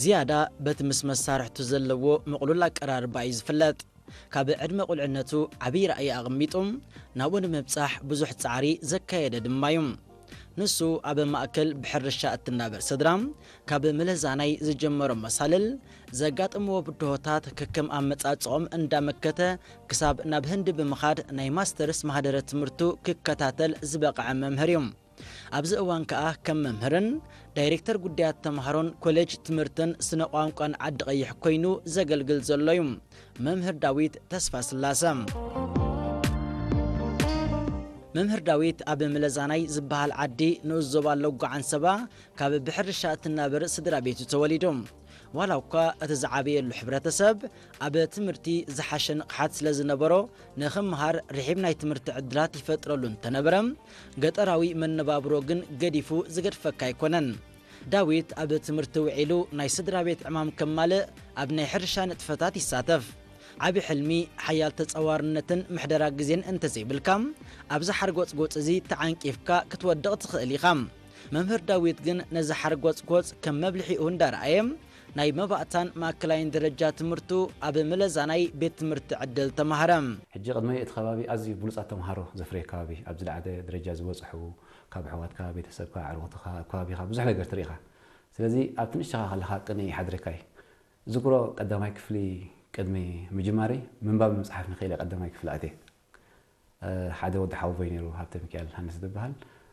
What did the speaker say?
ዝያዳ በቲ ምስ መሳርሕቱ ዘለዎ ምቕሉል ኣቀራርባ እዩ ዝፍለጥ። ካብ ዕድመ ቁልዕነቱ ዓብዪ ራእይ ኣቐሚጡ ናብኡ ንምብጻሕ ብዙሕ ጻዕሪ ዘካየደ ድማ እዩ። ንሱ ኣብ ማእከል ብሕርሻ እትናበር ስድራ፣ ካብ ምለዛናይ ዝጀመሮ መሳልል፣ ዘጋጥምዎ ብድሆታት ከከም ኣመጻጽኦም እንዳመከተ ክሳብ ናብ ህንዲ ብምኻድ ናይ ማስተርስ ማህደረ ትምህርቱ ክከታተል ዝበቕዐ መምህር እዩ። ኣብዚ እዋን ከኣ ከም መምህርን ዳይሬክተር ጉዳያት ተምሃሮን ኮሌጅ ትምህርትን ስነ ቋንቋን ዓዲ ቀይሕ ኮይኑ ዘገልግል ዘሎ እዩ። መምህር ዳዊት ተስፋ ስላሰ። መምህር ዳዊት ኣብ ምለዛናይ ዝበሃል ዓዲ ንኡስ ዞባ ሎጎ ዓንሰባ ካብ ብሕርሻ እትናበር ስድራ ቤቱ ተወሊዱ። ዋላ እኳ እቲ ዝዓበየሉ ሕብረተሰብ ኣብ ትምህርቲ ዝሓሸ ንቕሓት ስለ ዝነበሮ፣ ንኽምሃር ርሒብ ናይ ትምህርቲ ዕድላት ይፈጥረሉ እንተነበረ፣ ገጠራዊ መነባብሮ ግን ገዲፉ ዝገድፈካ ኣይኮነን። ዳዊት ኣብ ትምህርቲ ውዒሉ ናይ ስድራ ቤት ዕማም ከማልእ ኣብ ናይ ሕርሻ ንጥፈታት ይሳተፍ። ዓቢ ሕልሚ፣ ሓያል ተጻዋርነትን ምሕደራ ግዜን እንተዘይብልካ፣ ኣብዚ ሓርጎጽጎጽ እዚ ተዓንቂፍካ ክትወድቕ ትኽእል ኢኻ። መምህር ዳዊት ግን ነዚ ሓርጎጽጎጽ ከም መብልሒኡ እንዳረኣየ፣ ናይ መባእታን ማእከላይን ደረጃ ትምህርቱ ኣብ ምለዛናይ ቤት ትምህርቲ ዕድል ተማህረ። ሕጂ ቅድመይ እቲ ከባቢ ኣዝዩ ብሉጻት ተምሃሮ ዘፍረየ ከባቢ፣ ኣብ ዝለዓለ ደረጃ ዝበጽሑ፣ ካብ ኣሕዋትካ፣ ቤተሰብካ፣ ኣዕሩኽትኻ፣ ኣብ ከባቢኻ ብዙሕ ነገር ትርኢ ኢኻ። ስለዚ ኣብቲ ንእሽተኻ ከለኻ ቅንኢ ይሓድረካ እዩ። ዝክሮ ቀዳማይ ክፍሊ ቅድሚ ምጅማረይ ምንባብ ምጽሓፍ ንኽእል እየ ቀዳማይ ክፍሊ ኣትየ። እ፣ ሓደ ወዲ ሓወቦይ ነይሩ፣ ሃብተ ሚካኤል ሃንስ ዝበሃል።